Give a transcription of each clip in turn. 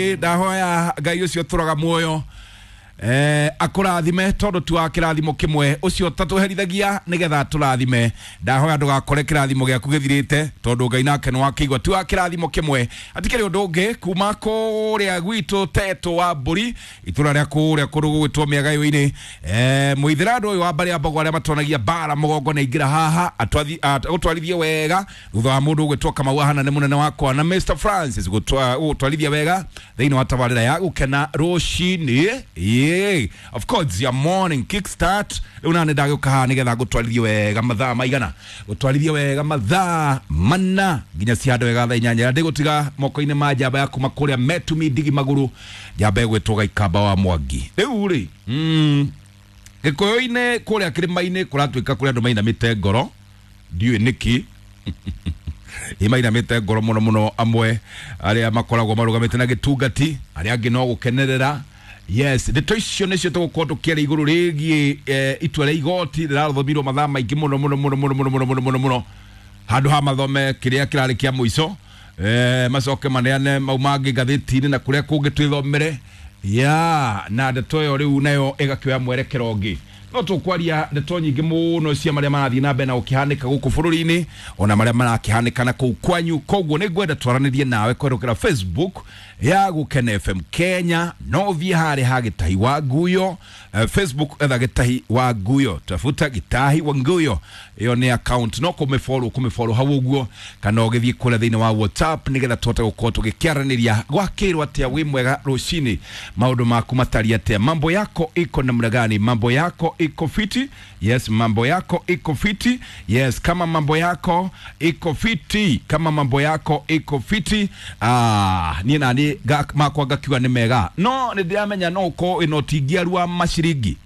Ndahoya Ngai ũcio tũraga muoyo akũrathime tondũ tu wa kĩrathimo kĩmwe ũcio tatũherithagia nĩgetha tũrathime. Ndahoya ndũgakore kĩrathimo gĩaku gĩthirĩte tondũ Ngai nake nĩwakĩigua tu wa kĩrathimo kĩmwe. Hatikĩrĩ ũndũ ũngĩ kuma kũrĩa gwitũ Tetũ wa Mbũri, itũra rĩa kũrĩa kũndũ gũgwĩtwo Mĩagayo-inĩ. Mũithĩra andũ ũyũ wa mbarĩ ya Mbogo arĩa matonagia mbara mũgongo nĩ aingĩra haha agũtwarithie wega thutha wa mũndũ ũgwĩtwo Kamau ahana nĩ mũnene wakwa na Mr Francis gũtwarithia wega thĩinĩ wa tabarĩra ya Gũkena Rũcinĩ. Yeah. Of course, your morning kickstart. Rĩu nani ndagĩũka haha nĩgetha ngũtwarithie wega mathaa maigana, gũtwarithie wega mathaa 4 nginya cihandũ wega thaa 8. Ndĩgũtiga moko-inĩ ma njamba ya kuma kũrĩa Metumi Ndigi Magũrũ, njamba ĩgwĩtwo Gaikamba wa Mwangi. Rĩu rĩ, Gĩkũyũ-inĩ kũrĩa kĩrĩma-inĩ kũratuĩka kũrĩa andũ mainamĩte ngoro, ndiũĩ nĩkĩ imainamĩte ngoro mũno mũno, amwe arĩa makoragwo marũgamĩte na gĩtungati, arĩa angĩ no gũkenerera. Yes, ndeto icio nĩcio tũgũkorwo tũkĩaria igũrũ rĩgiĩ itua rĩa igoti rĩrathomirwo mathaa maingĩ mũno mũno mũno mũno mũno mũno mũno mũno mũno, handũ ha mathome kĩrĩa kĩrarĩ kĩa mũico, macoke maneane mau mangĩ ngathĩti-inĩ na kũrĩa kũngĩ twĩthomere ya na ndeto ĩyo rĩu nayo ĩgakĩoya mwerekero ũngĩ. No tũkwaria ndeto nyingĩ mũno cia marĩa marathiĩ na mbere na gũkĩhanĩka gũkũ bũrũri-inĩ ona marĩa marakĩhanĩka na kũu kwanyu. Koguo nĩ ngwenda twaranĩrie nawe kwerũkĩra Facebook ya Gũkena FM Kenya, no ũthiĩ harĩa ha Gĩtahi wa Nguyo. Facebook etha Gĩtahi wa Nguyo, tafuta Gĩtahi wa Nguyo, ĩyo nĩ account no kũmĩfollow kũmĩfollow hau ũguo, kana ũgĩthiĩ kũrĩa thĩinĩ wa WhatsApp nĩgetha tũhote gũkorwo tũgĩkĩaranĩria. Gwakĩrwo atĩa wĩ mwega rũcinĩ, maũndũ maku matariĩ atĩa, mambo yako iko namna gani, mambo yako iko fiti? Yes, mambo yako iko fiti. Yes, kama mambo yako iko fiti, kama mambo yako iko fiti, niĩ nani makwa ngakiuga nĩ mega. No nĩ ndĩramenya no ũkorwo wĩna ũtingiaru wa maciringi,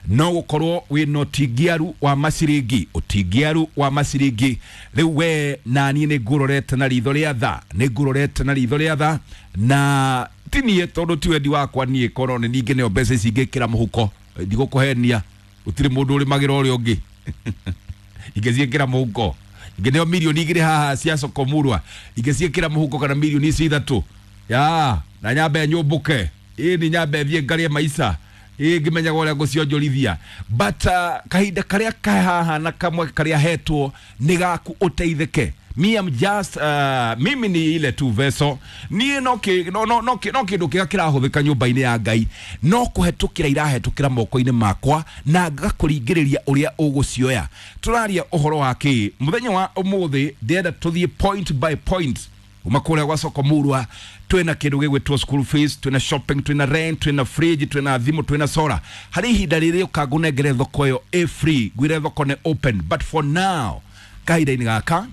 no gũkorwo wĩna ũtingiaru wa maciringi, ũtingiaru wa maciringi. Rĩu we nani nĩ ngũrorete na ritho rĩa tha, nĩ ngũrorete na ritho rĩa tha, na ti niĩ tondũ ti wendi wakwa niĩ korwo nĩ ningĩ nĩyo mbeca ici ingĩkĩra mũhuko, ndigũkũhenia, gũtirĩ mũndũ ũrĩmagĩra ũrĩa ũngĩ. Ingĩciĩkĩra mũhuko, ingĩneo mirioni 2 haha cia Sokomurwa, ingĩciĩkĩra mũhuko kana mirioni ici 3 ya na nyambe nyũmbũke, ĩ ni nyambe thiĩ ngarĩe maica, ĩ ngĩmenyaga ũrĩa ngũcionjorithia. But kahinda karĩa ka haha na kamwe karĩa hetwo nĩ gaku ũteithĩke. Me am just mimi ni ile tu veso niĩ no kĩ no no no kĩ no kĩndũ kĩrĩa kĩrahũthĩka nyũmba-inĩ ya Ngai no kũhetũkĩra irahetũkĩra moko-inĩ makwa na ngakũringĩrĩria ũrĩa ũgũcioya. Tũraria ũhoro wa kĩ mũthenya wa ũmũthĩ, ndĩrenda tũthiĩ point by point kuma kũrĩa gwa Sokomurwa. Twĩna kĩndũ gĩgwĩtwo school fees, twĩna shopping, twĩna rent, twĩna fridge, twĩna thimũ, twĩna solar. Harĩ ihinda rĩrĩ ũka ngũnengere thoko ĩyo ĩ free, ngwĩre thoko nĩ open, but for now kahinda-inĩ gaka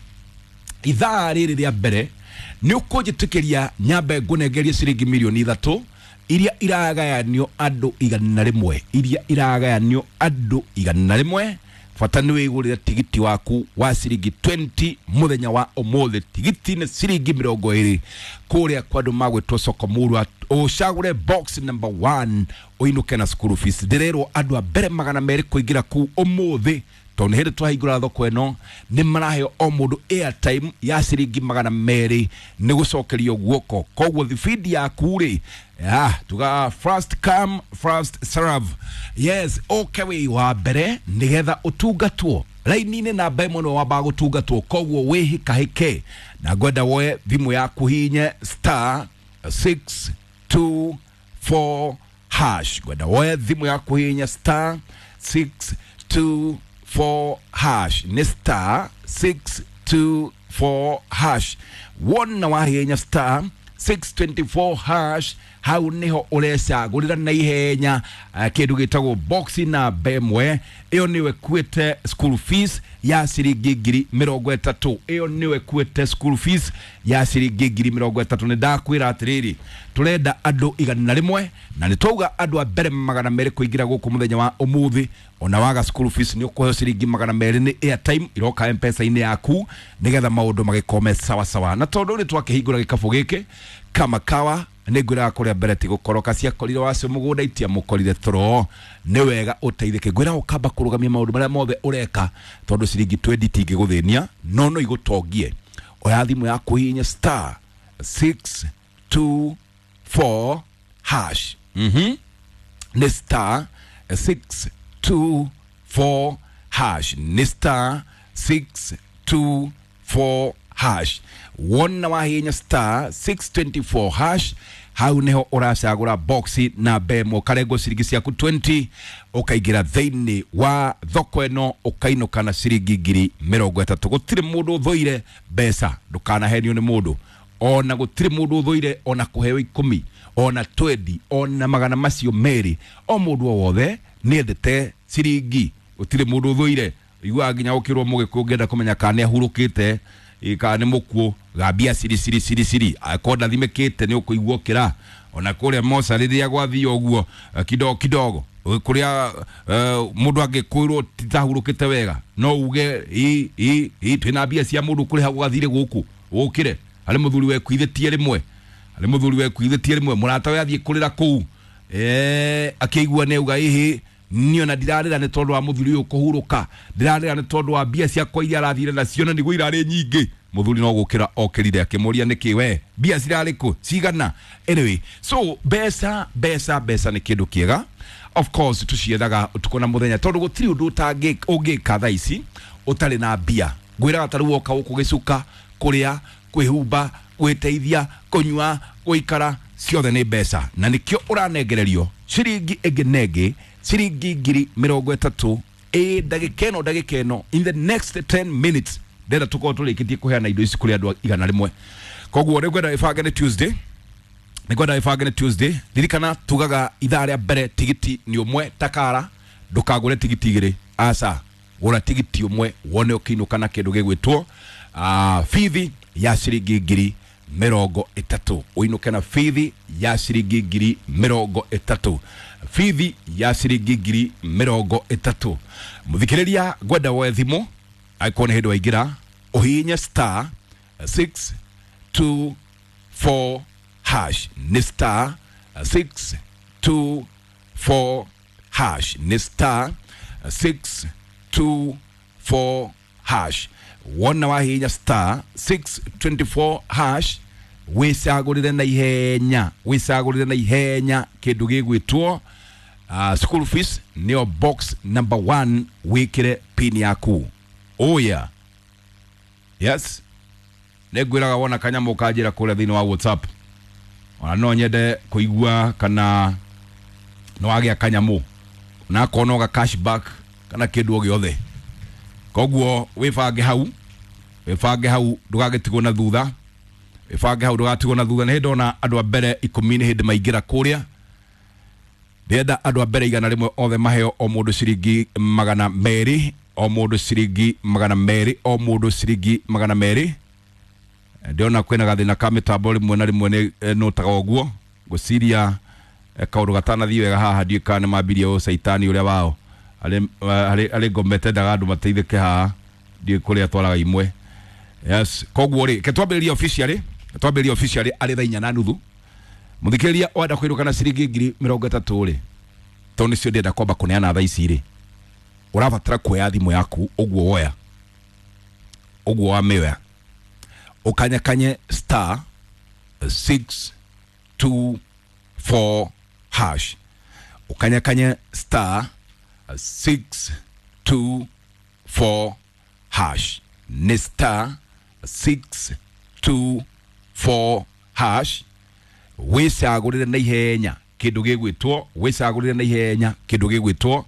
ithaa rĩrĩ rĩa mbere nĩ ũkũnjĩtĩkĩria nyambe ngũnengerie ciringi mirioni 3 iria iragayanio andũ 100, iria iragayanio andũ 100. Bata nĩ wĩgũrĩre tigiti waku wa ciringi 20 mũthenya wa ũmũthĩ. Tigiti nĩ ciringi 20 kũrĩa kwa andũ magwĩtwo Sokomurwa. Ũcagũre box number 1 ũinũke na school fees. Ndĩrerwo andũ a mbere 200 kũingĩra kũu ũmũthĩ, tondũ nĩ hĩndĩ twahingũra thoko ĩno nĩ maraheo o mũndũ airtime ya ciringi 200 nĩ gũcokerio guoko. Koguo thibindi yaku rĩ, tuga first come first serve. Yes, ũke wĩ wa mbere nĩgetha ũtungatwo raini-inĩ namba ĩmwe nĩwe wambaga gũtungatwo. Koguo wĩhĩkahĩke na ngwenda woe thimũ yaku hinye star 624 hash. Ngwenda woe thimũ yaku hinye star 624 hash, nĩ star 624 hash. Wona wahinya star 624 hash, hau niho ũrecagũrĩra na ihenya kĩndũ gĩtagwo box namba ĩmwe. Ĩyo nĩyo ĩkuĩte school fees ya ciringi 30,000. Ĩyo nĩyo ĩkuĩte school fees ya ciringi 30,000. Nĩ ndakwĩra atĩrĩrĩ, tũrenda andũ 100 na nĩ twauga andũ a mbere 200 kũingĩra gũkũ mũthenya wa ũmũthĩ. Ona waga school fees nĩ ũkũheo ciringi 200 nĩ airtime iroka M-Pesa-inĩ yaku nĩgetha maũndũ magĩkome sawa sawa. Na tondũ nĩ twakĩhingũra gĩkabũ gĩkĩ kama kawa, nĩ ngwĩraga kũrĩa mbere ti gũkoroka ciakorire wacio mũgũnda itiamũkorire toro. Nĩ wega ũteithĩke. Ngwĩraga ũkamba kũrũgamia maũndũ marĩa mothe ũreka tondũ ciringi 20 itingĩgũthĩnia no no igũtongie. Oya thimũ yaku hihinya star 624 4 hash. Nĩ star 624 hash, nĩ star 624 hash. Wona wahinya star 624 hash, hau niho ũracagũra boxi namba ĩmwe, ũkarengwo ciringi ciaku 20, ũkaingĩra thĩinĩ wa thoko ĩno, ũkainũka na ciringi 30,000. Gũtirĩ mũndũ ũthũire mbeca, ndũkanahenio nĩ mũndũ. Ona gũtirĩ mũndũ ũthũire ona kũheo 10, ona 20, ona magana macio merĩ. O mũndũ o wothe nĩendete ciringi, gũtirĩ mũndũ ũthũire. Iguaga nginya ũkĩrwo mũgĩkũyũ ũngĩenda kũmenya kana nĩ ahurũkĩte, kana nĩ mũkuũ, gambia ciri ciri ciri ciri, akorwo ndathimĩkĩte nĩ ũkũigua ũkĩra. Ona kũrĩa moca rĩrĩa gwathiĩ ũguo kidogo kidogo, kũrĩa mũndũ angĩkwĩrwo titahurũkĩte wega, no uge ĩ ĩ ĩ twĩna mbia cia mũndũ kũrĩha gwathire gũkũ ũkĩre. Harĩ mũthuri wekuithĩtie rĩmwe, harĩ mũthuri wekuithĩtie rĩmwe, mũrata we athiĩ kũrĩra kũu, akĩigua nĩ auga ĩhĩ, niĩ ona ndirarĩra nĩ tondũ wa mũthuri ũyũ kũhurũka, ndirarĩra nĩ tondũ wa mbia ciakwa iria arathire nacio na nĩguo irarĩ nyingĩ. Mũthuri no gũkĩra okĩrire akĩmũria nĩkĩ we mbia cirarĩ kũ cigana. Anyway, so mbeca mbeca mbeca nĩ kĩndũ kĩega, of course tũciethaga ũtukũ na mũthenya, tondũ gũtirĩ ũndũ ũngĩka thaa ici ũtarĩ na mbia. Ngwĩraga ta rĩu woka gũkũ gĩcuka, kũrĩa, kwĩhumba, gwĩteithia, kũnyua, gũikara, ciothe nĩ mbeca. Na nĩkĩo ũranengererio ciringi ĩngĩ na ĩngĩ, ciringi 30,000 ĩ ndagĩka ĩno, ndagĩka ĩno, in the next 10 minutes ndĩrenda tũkorwo tũrĩkĩtie kũheana indo ici kũrĩ andũ 100. Koguo rĩu ngwenda ĩbange nĩ Tuesday, nĩngwenda ĩbange nĩ Tuesday. Ririkana tugaga ithaa rĩa mbere tigiti nĩ ũmwe takara, ndũkagũre tigiti igĩrĩ, aca, gũra tigiti ũmwe wone ũkĩinũka na kĩndũ gĩgwĩtwo bithi ya ciringi 30,000, ũinũke na bithi ya ciringi 30,000, bithi ya ciringi 30,000. Mũthikĩrĩria, ngwenda woe thimũ angĩkorwo nĩ hĩndĩ waingĩra, ũhihinye star 624 hash, nĩ star 624 hash, nĩ star 624 hash. Wona wahihinya star 624 hash, wĩcagũrĩre na ihenya, wĩcagũrĩre na ihenya kĩndũ gĩgwĩtwo school fees, nĩyo box number 1, wĩkĩre pin yaku. Oh yeah. Yes, nĩngwĩraga wona kanyamũ kanjĩra kũrĩa thĩinĩ wa WhatsApp, ona no nyende kũigua kana nĩ wagĩa kanyamũ, na akorwo no ga cashback kana kĩndũ o gĩothe. Koguo wĩbange hau, wĩbange hau ndũgagĩtigwo na thutha, wĩbange hau ndũgatigwo na thutha. Nĩ hĩndĩ ona andũ a mbere 10 nĩ hĩndĩ maingĩra kũrĩa, ndĩrenda andũ a mbere 100 othe maheo o mũndũ ciringi 200, o mũndũ ciringi 200, o mũndũ ciringi 200. Ndĩrona kwĩna gathĩna ka mĩtambo rĩmwe na rĩmwe nĩ nũtaga ũguo, ngwĩciria kaũndũ gatanathiĩ wega haha, ndiũĩ kana nĩ mambirie ũcaitani ũrĩa wao harĩ ngoma ĩtendaga andũ mateithĩke haha, ndiũĩ kũrĩa twaraga imwe. Yes, koguo rĩ, ke twambĩrĩrie officially, twambĩrĩrie officially arĩ thaa 4:30. Mũthikĩrĩria wenda kũinũka na ciringi 30,000 rĩ, tondũ nĩcio ndĩrenda kwamba kũneana thaa ici rĩ, ũrabatara kuoya thimũ yaku ũguo woya, ũguo wamĩoya, ũkanyakanye star 624 hash, ũkanyakanye star 624 hash, nĩ star 624 hash. Wĩcagũrĩre na ihenya kĩndũ gĩgwĩtwo, wĩcagũrĩre na ihenya kĩndũ gĩgwĩtwo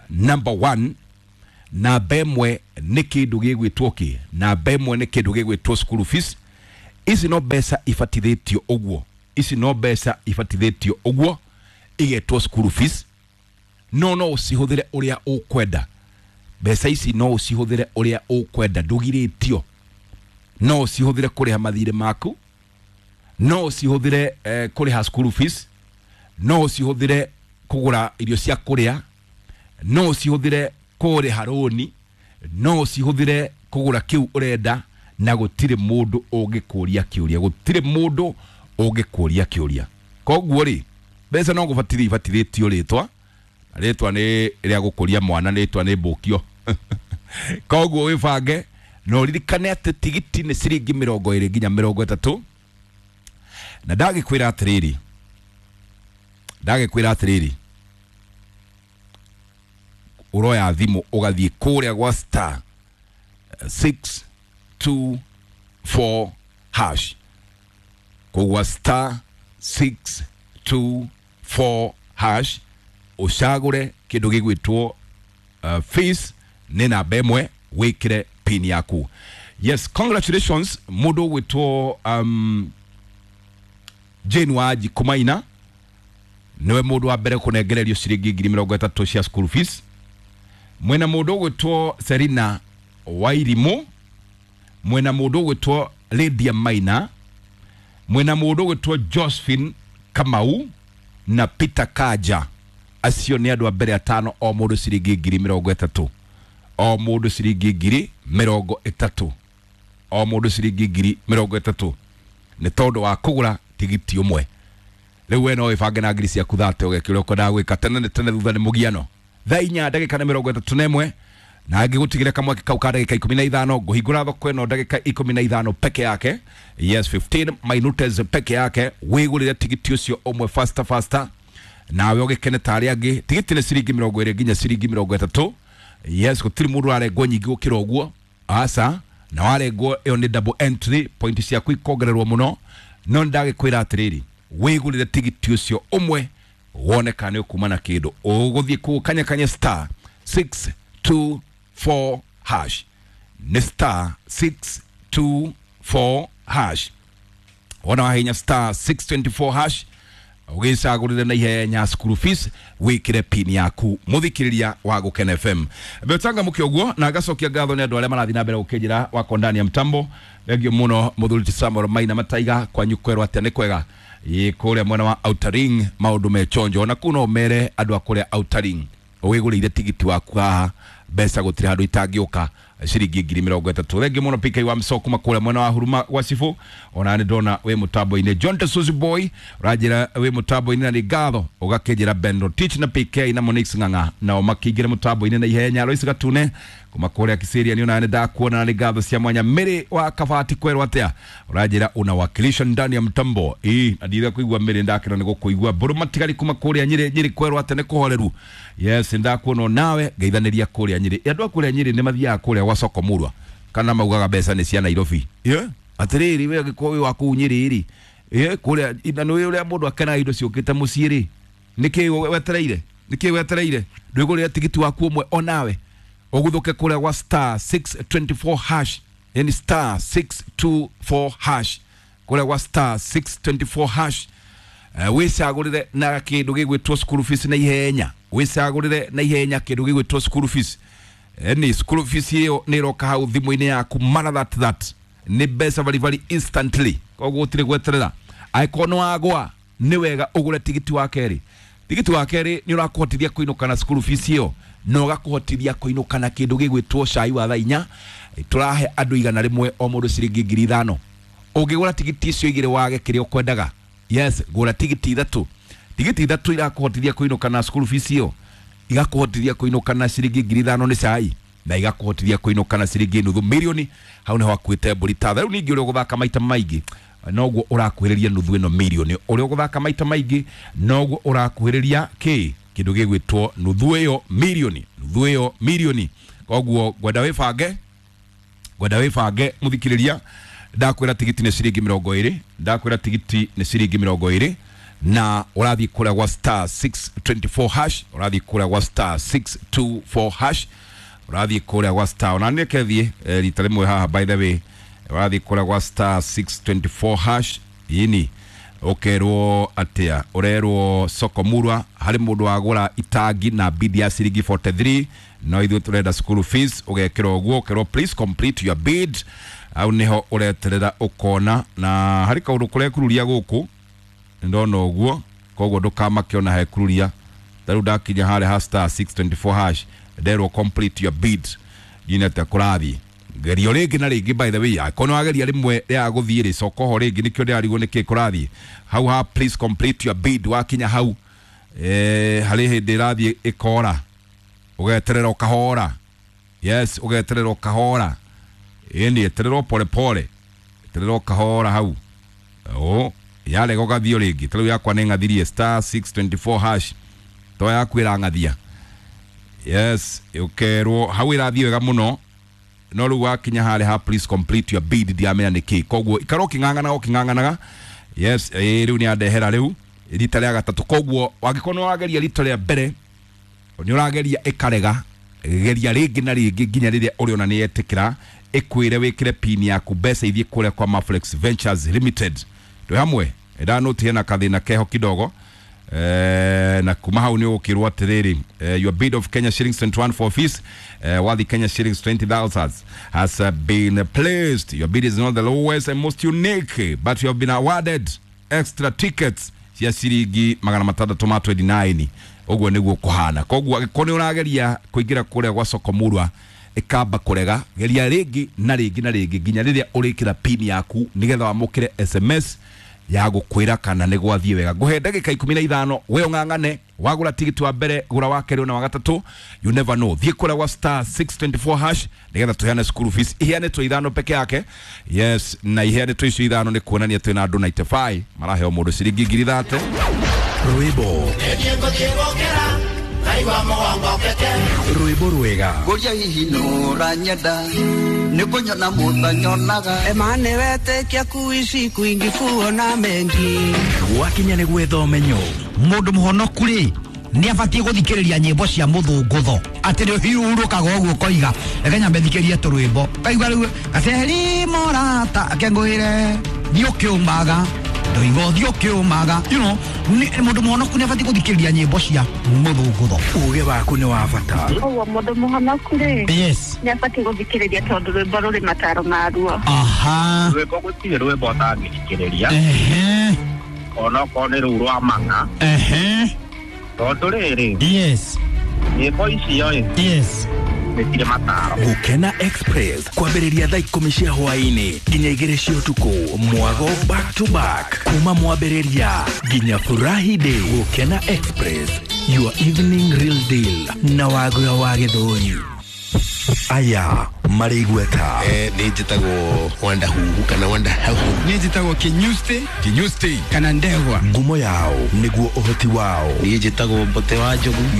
number 1. Namba ĩmwe nĩ kĩndũ gĩgwĩtwo kĩ, namba ĩmwe nĩ kĩndũ gĩgwĩtwo school fees. Ici no mbeca ibatithĩtio ũguo, ici no mbeca ibatithĩtio ũguo igetwo school fees, no no ũcihũthĩre ũrĩa ũkwenda. Mbeca ici no ũcihũthĩre ũrĩa ũkwenda, ndũgirĩtio. No ũcihũthĩre kũrĩha mathirĩ maku, no ũcihũthĩre kũrĩha school fees, no ũcihũthĩre kũgũra irio cia kũrĩa, no ũcihũthĩre kũrĩha rũni, no ũcihũthĩre kũgũra kĩu ũrenda, na gũtirĩ mũndũ ũngĩkũria kĩũria, gũtirĩ mũndũ ũngĩkũria kĩũria. Koguo rĩ, mbeca no gũbatithio ibatithĩtio rĩtwa, rĩtwa nĩ rĩa gũkũria mwana, rĩtwa nĩ mbũkio. Koguo wĩbange na ũririkane atĩ tigiti nĩ ciringi 20 nginya 30, Na ndagĩkwĩra atĩrĩrĩ, ndagĩkwĩra atĩrĩrĩ, ũroya thimũ ũgathiĩ kũrĩa gwa star 624 hash, kũgwa star 624 hash, ũcagũre kĩndũ gĩgwĩtwo fees nĩ namba ĩmwe, wĩkĩre pin yaku. Yes, congratulations mũndũ ũgwĩtwo Jane Wanji Kumaina, niwe mũndũ wa mbere kũnengererio ciringi 30,000 cia school fees. Mwena mũndũ ũgwĩtwo Serina Wairimu, mwena mũndũ ũgwĩtwo Lydia Maina, mwena mũndũ ũgwĩtwo Josephine Kamau na Peter Kaja. Acio nĩ andũ a mbere atano, o mũndũ ciringi 30,000, o mũndũ ciringi 30,000, o mũndũ ciringi 30,000 nĩ tondũ wa kũgũra tigiti ũmwe. Rĩu we no wĩbange na ngiri ciaku thate ũgeke ũrĩa ũkwendaga gwĩka. Tene nĩ tene, thutha nĩ mũgiano. Thaa inya ndagĩka nĩ 31, na ngĩgũtigĩra kamweke kau ka ndagĩka 15. Ngũhingũra thoko ĩno ndagĩka 15 peke yake. Yes, 15 minutes peke yake, wĩgũrĩre tigiti ũcio ũmwe faster faster, nawe ũgĩkene ta arĩa angĩ. Tigiti nĩ ciringi 20 nginya ciringi 30. Yes, gũtirĩ mũndũ ũrarengwo nyingĩ gũkĩra ũguo, aca. Na warengwo ĩyo nĩ double entry, point ciaku ikongererwo mũno. No ndagĩkwĩra atĩrĩrĩ, wĩgũrĩre tigiti ũcio ũmwe wone kana nĩ ũkuma na kĩndũ. Ũgũthiĩ kũu kanya kanya star 624 hash, nĩ star 624 hash. Wona wahinya star 624 hash, ũgĩcagũrĩre na ihenya school fees, wĩkĩre pin yaku. Mũthikĩrĩria wa Gũkena FM, betanga mũke ũguo, na ngacokia ngatho nĩ andũ arĩa marathiĩ na mbere gũkĩnjĩra wako ndani ya mtambo. Thengio mũno mũthuri ti Samuel Maina Mataiga, kwanyu kwerwo atĩa? Nĩ kwega ĩ kũrĩa mwena wa Outer Ring, maũndũ me chonjo. Ona kũu no mere andũ a kũrĩa Outer Ring, wĩgũrĩire tigiti waku haha, mbeca gũtirĩ handũ itangĩũka, ciringi 30,000. Thengio mũno PK wa Msoko kuma kũrĩa mwena wa Huruma gwa Cibũ, ona nĩ ndona wĩ mũtambo-inĩ. John Tesuzi Boy ũranjĩra wĩ mũtambo-inĩ na nĩ ngatho. Ũgakĩnjĩra Ben Rotich na PK na Monix Ng'ang'a nao makĩingĩra mũtambo-inĩ na ihenya. Lois Gatune kuma kũrĩa Kisiria, nĩ ona nĩ ndakuona na nĩ ngatho cia mwanya. Mĩrĩ wa Kabati kwerwo atĩa? Ũranjĩra unawakilisha ndani ya mtambo ĩ, na ndire kũigua mĩrĩ, ndakena nĩ gũkũigua. Mbũrũ matigari kuma kũrĩa Nyĩrĩ, Nyĩrĩ kwerwo atĩa? Nĩ kũhoreru. Yes, ndakuona nawe, ngeithanĩria kũrĩa Nyĩrĩ. Andũ a kũrĩa Nyĩrĩ nĩ mathiaga kũrĩa gwa soko murwa kana maugaga mbeca nĩ cia Nairobi? Yeah. Atĩrĩrĩ, we angĩkorwo wĩ wa kũu Nyĩrĩ rĩ, kũrĩa na nĩ ũrĩa mũndũ akenaga indo ciũkĩte mũciĩ rĩ, nĩkĩ wetereire? Nĩkĩ wetereire? Ndwĩgũrĩre tigiti waku ũmwe onawe, ũguthũke kũrĩa gwa star 624 hash, yani star 624 hash, kũrĩa gwa star 624 hash. Wĩcagũrĩre na kĩndũ gĩgwĩtwo school fees na ihenya, wĩcagũrĩre na ihenya kĩndũ gĩgwĩtwo school fees. Ni school fees ĩyo nĩ ĩroka hau thimũ-inĩ yaku mara that that nĩ mbeca baribari instantly, koguo gũtirĩ gweterera. Angĩkorwo nĩ wagwa, nĩ wega ũgũre tigiti wa kerĩ. Tigiti wa kerĩ nĩ ũrakũhotithia kũinũka na school fees ĩyo, na ũgakũhotithia kũinũka na kĩndũ gĩgwĩtwo cai wa thaa inya. Tũrahe andũ 100, o mũndũ ciringi 5,000. Ũngĩgũra tigiti icio igĩrĩ wage kĩrĩa ũkwendaga, yes, gũra tigiti ithatũ. Tigiti ithatũ irakũhotithia kũinũka na school fees ĩyo, igakũhotithia kũinũka na ciringi 5,000 nĩ cai, na igakũhotithia kũinũka na ciringi nuthu milioni. Hau nĩho hakuĩte mbũri tatha. Rĩu ningĩ ũrĩa ũgũthaka maita maingĩ noguo ũrakuhĩrĩria nuthu ĩno milioni. Ũrĩa ũgũthaka maita maingĩ noguo ũrakuhĩrĩria kĩ kĩndũ gĩgwĩtwo nuthu ĩyo milioni, nuthu ĩyo milioni. Koguo ngwenda wĩbange, ngwenda wĩbange mũthikĩrĩria. Ndakwĩra tigiti nĩ ciringi 20, ndakwĩra tigiti nĩ ciringi 20, na ũrathiĩ kũrĩa gwa star 624 hash, ũrathiĩ kũrĩa gwa star 624 hash, ũrathiĩ kũrĩa gwa star, ona nĩ kethiĩ rita rĩmwe haha, by the way, ũrathiĩ kũrĩa gwa star 624 hash. Yini ũkerwo atĩa? Ũrerwo soko murwa harĩ mũndũ wagũra itangi na bid ya ciringi 43, no ithuĩ tũrenda school fees. Ũgekĩra ũguo, ũkerwo please complete your bid. Hau nĩho ũreterera ũkona na harĩ kaũndũ kũrekururia gũkũ, ndona ũguo, koguo ndũkamake ona hekururia. Ta rĩu ndakinya harĩa ha star 624 hash, nderwo complete your bid, nginya atĩa kũrathiĩ gerio rĩngĩ na rĩngĩ. By the way, angĩkorwo nĩ wageria rĩmwe rĩa gũthiĩ rĩ, coka ho rĩngĩ, nĩkĩo ndĩrarigwo nĩkĩ kũrathiĩ hau ha please complete your bid. Wakinya hau, harĩ hĩndĩ ĩrathiĩ ĩkora, ũgeterera ũkahora. Yes, ũgeterera ũkahora, ĩni eterera pole pole, eterera ũkahora hau. O Yarega ũgathiĩ rĩngĩ. Ta rĩu yakwa nĩ ng'athirie star 624 hash, to yaku ĩrang'athia. Yes, ũkerwo hau ĩrathiĩ wega mũno, no rĩu wakinya harĩa ha "Please complete your bid", ndiamenya nĩkĩ. Koguo ikara ũkĩng'ang'anaga ũkĩng'ang'anaga. Yes, rĩu nĩ andehera rĩu rita rĩa gatatũ. Koguo wangĩkorwo nĩ wageria rita rĩa mbere, nĩ ũrageria ĩkarega, geria rĩngĩ na rĩngĩ nginya rĩrĩa ũrĩona nĩ yetĩkĩra, ĩkwĩre wĩkĩre pin yaku, mbeca ithiĩ kũrĩa kwa Maflex Ventures Limited. Twĩ hamwe, ndanũti hena kathĩna keho kidogo. Na kuma hau nĩ ũgũkĩrwo atĩrĩrĩ, "Your bid of Kenya shillings 21 for fees worth Kenya shillings 20,000 has been placed. Your bid is not the lowest and most unique, but you have been awarded extra tickets cia ciringi 629." Ũguo nĩguo kũhana. Koguo angĩkorwo nĩ ũrageria kũingĩra kũrĩa gwa soko murwa ĩkamba kũrega, geria rĩngĩ na rĩngĩ na rĩngĩ nginya rĩrĩa ũrĩkĩra pin yaku, nĩgetha wamũkĩre SMS ya gũkwĩra kana nĩ gwathiĩ wega. Ngũhe ndagĩka 15, we ũng'ang'ane. Wagũra tigiti wa mbere, gũra wa kerĩ na wa gatatũ. You never know. Thiĩ kũrĩa gwa star 624 hash, nĩgetha tũheane school fees iheanĩtwo ithano peke yake. Yes, na iheanĩtwo icio ithano nĩ kuonania twĩna andũ 95 maraheo mũndũ ciringi 30,000. Rwĩmbo rwĩmbo rwega. Ngũria hihi nũranyenda nĩ kũnyona mũtanyonaga. Emane wetĩkia kuishi kwingi kuona mengi. Gwakinya nĩ gwetha ũmenyo. Mũndũ mũhonoku rĩ, nĩ abatiĩ gũthikĩrĩria nyĩmbo cia mũthũngũtho, atĩ nĩ ũhiũrũkaga ũguo ũkoiga, "Reke nyambe thikĩrie tũrwĩmbo." Kaigua rĩu gaceri morata akengũĩre, thiĩ ũkĩũmaga, ndoiga ũthiĩ ũkĩũmaga. Mũndũ mũhonoku nĩ abatiĩ gũthikĩrĩria nyĩmbo cia mũthũngũtho. Uge waku nĩ wa bata. Koguo mũndũ mũhonoku rĩ, nĩ abatiĩ gũthikĩrĩria tondũ rwĩmbo rũrĩ mataro maruo. Aha. Rwĩmbo, gũtirĩ rwĩmbo ũtangĩthikĩrĩria, onokorwo nĩ rũu rwa mang'a, tondũ rĩrĩ, nyĩmbo icio ĩ, nĩ cirĩ mataro. Gũkena Express kwambĩrĩria thaa 10 cia hwaĩ-inĩ nginya 2 cia ũtukũ, mwago back to back kuma mwambĩrĩria nginya furahi day. Gũkena Express, your evening real deal na wagũra wa gĩthũri aya marĩ igweta. Nĩ njĩtagwo Wanda Huhu kana Wanda Hahu. Niĩ njĩtagwo Kinyusti. Kinyusti. Kana Ndegwa. Ngumo yao nĩguo ũhoti wao. Niĩ njĩtagwo Mbote wa Njogu.